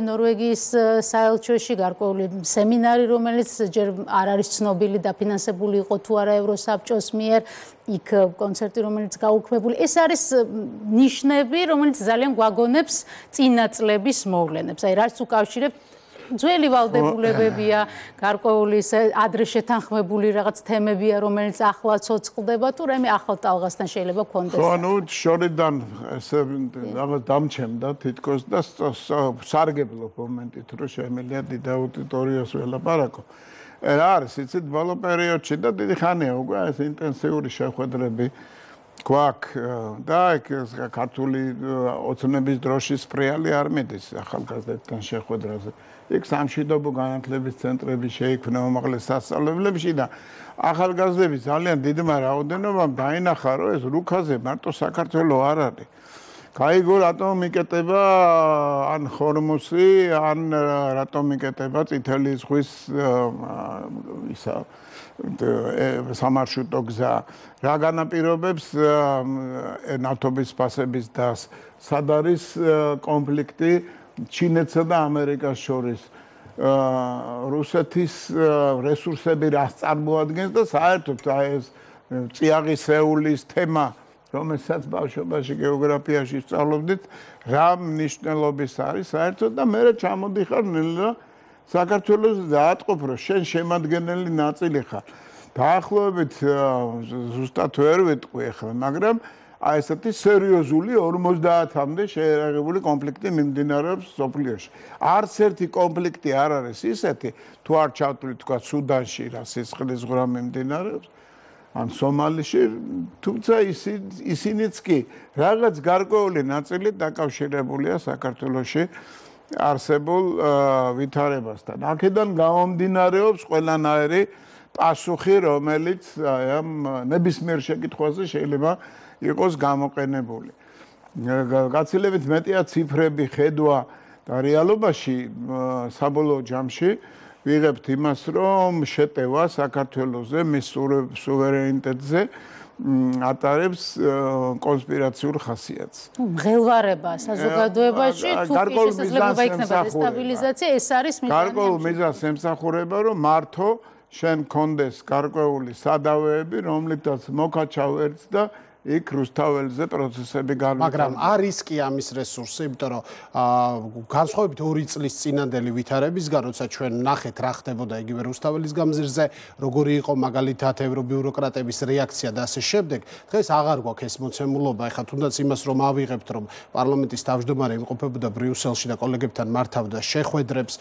ნორვეგიის საელჩოში გარკვეული სემინარი, რომელიც ჯერ არ არის ცნობილი დაფინანსებული იყო თუ არა ევროსაბჭოს მიერ, იქ კონცერტი, რომელიც გაუქმებული. ეს არის ნიშნები, რომელიც ძალიან გვაგონებს წინა წლების მოვლენებს. აი, რაც უკავშირებთ ძველი ვალდებულებებია, გარკვეული ადრე შეთანხმებული რაღაც თემებია, რომელიც ახლა ცოცხლდება, თუ რამე ახალ ტალღასთან შეიძლება გქონდეს. ხო, ნუ შორიდან ესე რაღაც დამჩემდა თითქოს და სარგებლო მომენტით, რომ შემიძლია დიდ აუდიტორიას ველაპარაკო. რა არის, იცით, ბოლო პერიოდში და დიდი ხანია უკვე ეს ინტენსიური შეხვედრები გვაქვს და იქ ქართული ოცნების დროშის ფრიალი არ მიდის ახალგაზრდებთან შეხვედრაზე. იქ სამშვიდობო განათლების ცენტრები შეიქმნა უმაღლეს სასწავლებლებში და ახალგაზრდები ძალიან დიდმა რაოდენობამ დაინახა, რომ ეს რუქაზე მარტო საქართველო არ არის. გაიგო რატომ მიკეტება ან ხორმუსი, ან რატომ მიკეტება წითელი ზღვის ისა სამარშრუტო გზა. რა განაპირობებს ნავთობის ფასების დას, სად არის კონფლიქტი ჩინეთსა და ამერიკას შორის, რუსეთის რესურსები რას წარმოადგენს და საერთოდ ეს წიაღის სეულის თემა, რომელსაც ბავშვობაში გეოგრაფიაში სწავლობდით, რა მნიშვნელობის არის საერთოდ და მე ჩამოდიხარ ნელა საქართველოს დაატყობ, რომ შენ შემადგენელი ნაწილი ხარ. დაახლოებით ზუსტად ვერ ვიტყვი ახლა, მაგრამ აი ესეთი სერიოზული 50-მდე შეერაღებული კონფლიქტი მიმდინარეობს სოფლიოში. არც ერთი კონფლიქტი არ არის ისეთი, თუ არ ჩავთვლით თქვა სუდანში რა სისხლის ზღვრა მიმდინარეობს, ან სომალიში, თუმცა ისინიც კი რაღაც გარკვეული ნაწილი დაკავშირებულია საქართველოში არსებულ ვითარებასთან. აქედან გამომდინარეობს ყველანაირი პასუხი, რომელიც ამ ნებისმიერ შეკითხვაზე შეიძლება იყოს გამოყენებული. გაცილებით მეტია ციფრები, ხედვა და რეალობაში საბოლოო ჯამში ვიღებთ იმას, რომ შეტევა საქართველოზე, მის სუვერენიტეტზე ატარებს კონსპირაციულ ხასიათს. მღელვარება საზოგადოებაში თუ შესაძლებლობა იქნება დესტაბილიზაცია, ეს არის გარკვეულ მიზანს ემსახურება, რომ მართო შენ კონდეს გარკვეული სადავეები, რომლითაც მოკაჩავ ერთს და იქ რუსთაველზე პროცესები განვითარდება. მაგრამ არის კი ამის რესურსი, იმიტომ რომ განსხვავებით 2 წლის წინანდელი ვითარებისგან, როცა ჩვენ ნახეთ რა ხდებოდა იგივე რუსთაველის გამზირზე, როგორი იყო მაგალითად ევრობიუროკრატების რეაქცია და ასე შემდეგ, დღეს აღარ გვაქვს ეს მოცემულობა. ეხლა თუნდაც იმას რომ ავიღებთ, რომ პარლამენტის თავმჯდომარე იმყოფებოდა ბრიუსელში და კოლეგებთან მართავდა შეხვედრებს,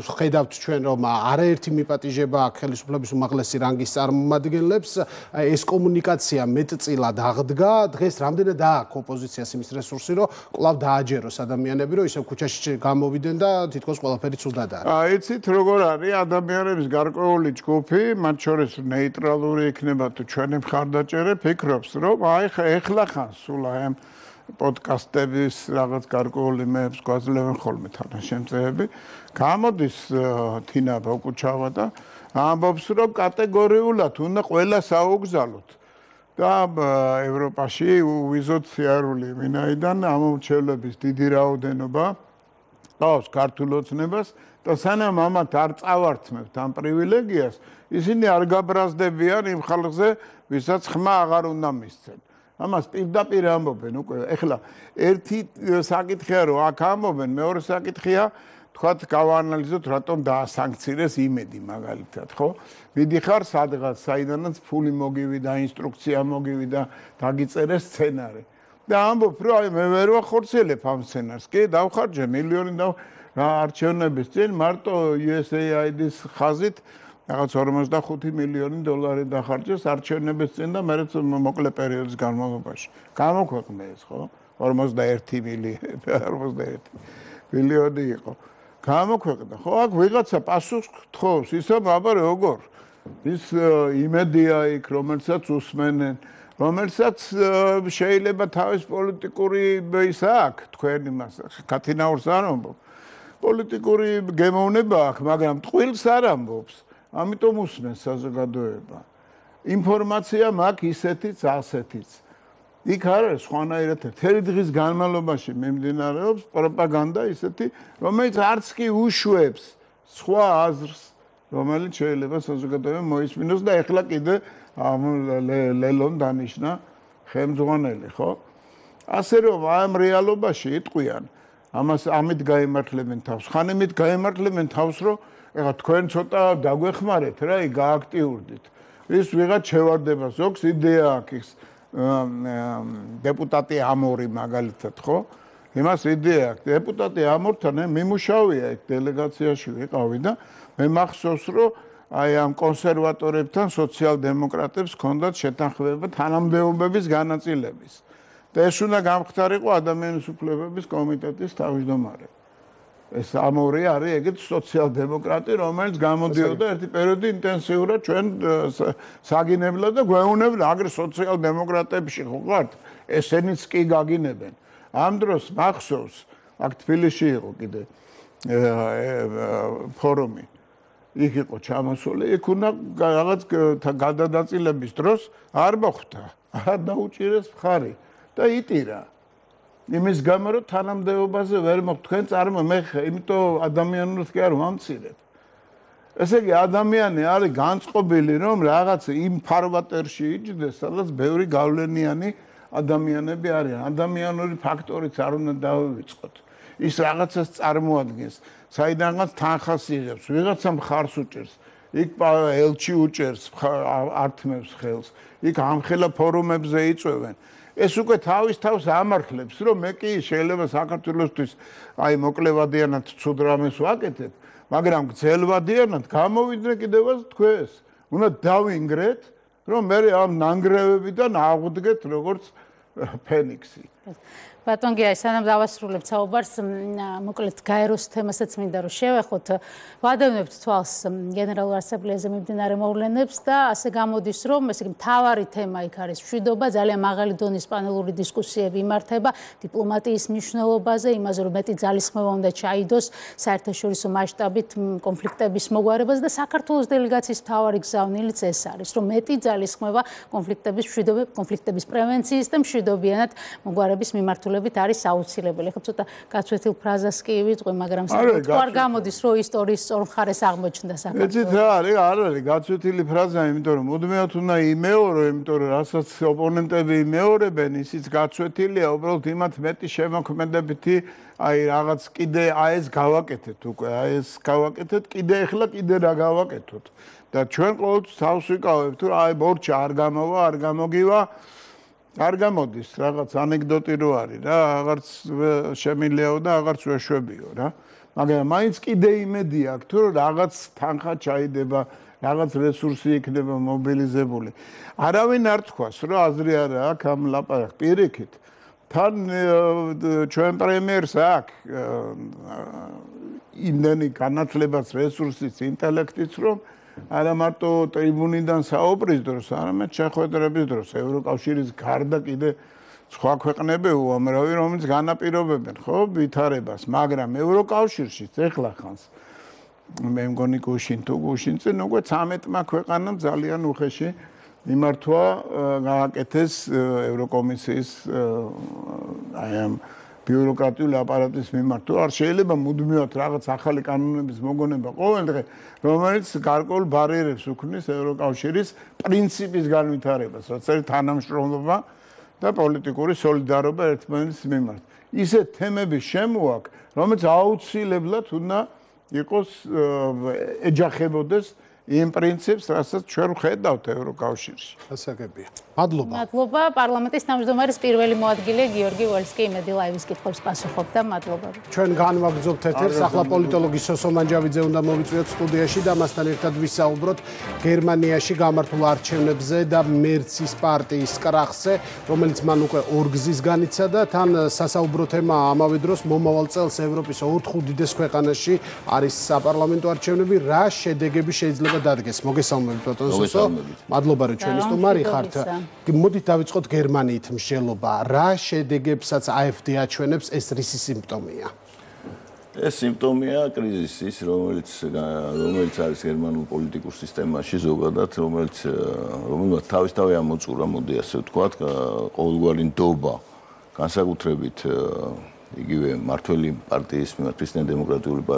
ხედავთ ჩვენ რომ არაერთი მიპატიჟება აქვს ხელისუფლების უმაღლესი რანგის წარმომადგენლებს, ეს კომუნიკაცია მეტწილად აღდგა, დღეს რამდენად აქვს ოპოზიციას იმის რესურსი, რომ კვლავ დააჯეროს ადამიანები, რომ ისევ ქუჩაში გამოვიდნენ და თითქოს ყველაფერი ცუდად არის. იცით როგორ არის ადამიანების გარკვეული ჯგუფი, მათ შორის ნეიტრალური იქნება თუ ჩვენი მხარდაჭერე ფიქრობს, რომ აი ეხლა ხან სულ აი ამ პოდკასტების რაღაც გარკვეული მეებს გვაძლევენ ხოლმე თანაშემწეები. გამოდის თინა ბოკუჩავა და ამბობს, რომ კატეგორიულად უნდა ყველა საუგზალოთ. და ევროპაში უვიზოთ სიარული, ვინაიდან ამომრჩევლების დიდი რაოდენობა ყავს ქართულ ოცნებას და სანამ ამათ არ წავართმევთ ამ პრივილეგიას, ისინი არ გაბრაზდებიან იმ ხალხზე, ვისაც ხმა აღარ უნდა მისცენ. ამას პირდაპირ ამბობენ უკვე. ეხლა ერთი საკითხია, რომ აქ ამბობენ, მეორე საკითხია, თქვათ გავაანალიზოთ, რატომ დაასანქცირეს იმედი მაგალითად, ხო? მიდიხარ სადღაც, საიდანაც ფული მოგივიდა, ინსტრუქცია მოგივიდა, დაგიწერეს სცენარი. და ამბობ, რომ აი მე ვერ ვახორციელებ ამ სცენარს. კი, დავხარჯე მილიონი და რა არჩევნების წინ მარტო USAID-ის ხაზით რაღაც 45 მილიონი დოლარი დახარჯეს არჩევნების წინ და მერეც მოკლე პერიოდის განმავლობაში. გამოქვეყნე ეს, ხო? 41 მილიონი იყო. გამოქვეყნდა. ხო, აქ ვიღაცა პასუხს გთხოვს, ისა აბა როგორ? ის იმედია იქ, რომელსაც უსმენენ, რომელსაც შეიძლება თავის პოლიტიკური ის აქვს, თქვენ იმას კათინაურს არ ამბობ. პოლიტიკური გემოვნება აქვს, მაგრამ ტყუილს არ ამბობს. ამიტომ უსმენს საზოგადოება. ინფორმაცია მაქვს ისეთიც, ასეთიც. იქ არ არის სხვანაირად მთელი დღის განმავლობაში მიმდინარეობს პროპაგანდა ისეთი, რომელიც არც კი უშვებს სხვა აზრს, რომელიც შეიძლება საზოგადოებამ მოისმინოს და ეხლა კიდე ლელონ დანიშნა ხელმძღვანელი, ხო? ასე რომ ამ რეალობაში იტყვიან, ამით გაემართლებენ თავს. ხან იმით გაემართლებენ თავს, რომ ეხლა თქვენ ცოტა დაგვეხმარეთ რა, გააქტიურდით. ის ვიღაც შევარდება, ზოგს იდეა აქვს დეპუტატი ამორი მაგალითად, ხო? იმას იდეა აქვს. დეპუტატი ამორთან მიმუშავია ეგ დელეგაციაში ვიყავი და მე მახსოვს, რომ აი ამ კონსერვატორებთან სოციალ-დემოკრატებს ჰქონდათ შეთანხმება თანამდებობების განაწილების. და ეს უნდა გამხდარიყო ადამიანის უფლებების კომიტეტის თავმჯდომარე. ეს ამორი არის ეგეთ სოციალ-დემოკრატი, რომელიც გამოდიოდა ერთი პერიოდი ინტენსიურად ჩვენ საგინებლად და გვეუბნებდა, აგრე სოციალ-დემოკრატებში ხო ხართ? ესენიც კი გაგინებენ. ამ დროს მახსოვს, აქ თბილისში იყო კიდე ფორუმი. იქ იყო ჩამოსული, იქ უნდა რაღაც გადადაწილების დროს არ მოხვდა, არ დაუჭირეს მხარი და იტირა. იმის გამო რომ თანამდებობაზე ვერ მოხდა თქვენ წარმო მე იმიტომ ადამიანურს კი არ ვამცირებ. ესე იგი ადამიანი არის განწყობილი რომ რაღაც იმ ფარვატერში იჯდეს, სადაც ბევრი გავლენიანი ადამიანები არიან. ადამიანური ფაქტორიც არ უნდა დავივიწყოთ. ის რაღაცას წარმოადგენს, საიდანაც თანხას იღებს, ვიღაცა მხარს უჭერს, იქ ელჩი უჭერს, ართმევს ხელს, იქ ამხელა ფორუმებზე იწვევენ. ეს უკვე თავის თავს ამართლებს, რომ მე კი შეიძლება საქართველოსთვის აი მოკლევადიანად ცუდ რამეს ვაკეთებ, მაგრამ გრძელვადიანად გამოვიდნენ კიდევაც თქვენს. უნდა დავინგრეთ, რომ მე ამ ნანგრევებიდან აღვდგეთ როგორც ფენიქსი. ბატონ გია, სანამ დავასრულებთ საუბარს, მოკლედ გაეროს თემასაც მინდა რომ შევეხოთ. ვადევნებთ თვალს გენერალურ ასამბლეაზე მიმდინარე მოვლენებს და ასე გამოდის, რომ ესე იგი მთავარი თემა იქ არის მშვიდობა, ძალიან მაღალი დონის პანელური დისკუსიები იმართება დიპლომატიის მნიშვნელობაზე, იმაზე რომ მეტი ძალისხმევა უნდა ჩაიდოს საერთაშორისო მასშტაბით კონფლიქტების მოგვარებას და საქართველოს დელეგაციის მთავარი გზავნილიც ეს არის, რომ მეტი ძალისხმევა კონფლიქტების პრევენციის და მშვიდობიანად მოგვარების მიმართულებით არის აუცილებელი. ხო ცოტა გაცვეთილ ფრაზას კი ვიტყვი, მაგრამ არ გამოდის, რომ ისტორიის სწორ მხარეს აღმოჩნდა საქართველო. ეცით რა არის, არ არის გაცვეთილი ფრაზა, იმიტომ რომ მუდმივად უნდა იმეორო, იმიტომ რომ რასაც ოპონენტები იმეორებენ, ისიც გაცვეთილია, უბრალოდ იმათ მეტი შემოქმედებითი, აი რაღაც კიდე ეს გავაკეთეთ უკვე, ეს გავაკეთეთ, კიდე ახლა კიდე რა გავაკეთოთ. და ჩვენ ყოველთვის თავს ვიკავებთ, რომ აი ბორჩა არ გამოვა, არ გამოგივა. არ გამოდის რაღაც ანეკდოტი რო არის რა, აღარც შემიძლიაო და აღარც ვეშვებიო რა. მაგრამ მაინც კიდე იმედი აქვს, თუ რაღაც თანხა ჩაიდება, რაღაც რესურსი იქნება მობილიზებული. არავინ არ თქვას, რომ აზრი არა აქვს ამ ლაპარაკ პირიქით. თან ჩვენ პრემიერს აქვს იმდენი განათლებაც, რესურსიც, ინტელექტიც, რომ არა მარტო ტრიბუნიდან საუბრის დროს, არამედ შეხვედრების დროს ევროკავშირის გარდა კიდე სხვა ქვეყნები უამრავი, რომელიც განაპირობებენ, ხო, ვითარებას, მაგრამ ევროკავშირშიც ეხლა ხანს მე მგონი გუშინწინ უკვე 13-მა ქვეყანამ ძალიან უხეში მიმართვა გააკეთეს ევროკომისიის აი ამ ბიუროკრატიული აპარატის მიმართ. არ შეიძლება მუდმივად რაღაც ახალი კანონების მოგონება ყოველდღე, რომელიც გარკვეულ ბარიერებს უქმნის ევროკავშირის პრინციპის განვითარებას, რაც არის თანამშრომლობა და პოლიტიკური სოლიდარობა ერთმანეთის მიმართ. ისეთ თემების შემოაქვს, რომელიც აუცილებლად უნდა იყოს ეჯახებოდეს იმ პრინციპს, რასაც ჩვენ ვხედავთ ევროკავშირში. გასაგებია. მადლობა. მადლობა. პარლამენტის თავმჯდომარის პირველი მოადგილე გიორგი ვოლსკი იმედი ლაივის კითხვებს პასუხობდა. მადლობა. ჩვენ განვაგრძობთ ეთერს. ახლა პოლიტოლოგი სოსო მანჯავიძე უნდა მოვიწვიოთ სტუდიაში და მასთან ერთად ვისაუბროთ გერმანიაში გამართულ არჩევნებზე და მერცის პარტიის კრახზე, რომელიც მან უკვე ორგზის განიცადა. თან სასაუბრო თემა ამავე დროს მომავალ წელს ევროპის 4 უდიდეს ქვეყანაში არის საპარლამენტო არჩევნები. რა შედეგები შეიძლება დადგეს? მოგესალმებით ბატონ სოსო. მადლობა რომ ჩვენი სტუმარი ხართ. მოდით დავიწყოთ გერმანიით მსჯელობა. რა შედეგებსაც AfD აჩვენებს, ეს რისი სიმპტომია? ეს სიმპტომია კრიზისის, რომელიც არის გერმანულ პოლიტიკურ სისტემაში ზოგადად, რომელმაც თავისთავად ამოწურა, მოდი ასე ვთქვათ, ყოველგვარი ნდობა, განსაკუთრებით იგივე მართველი პარტიის, ქრისტიან-დემოკრატიული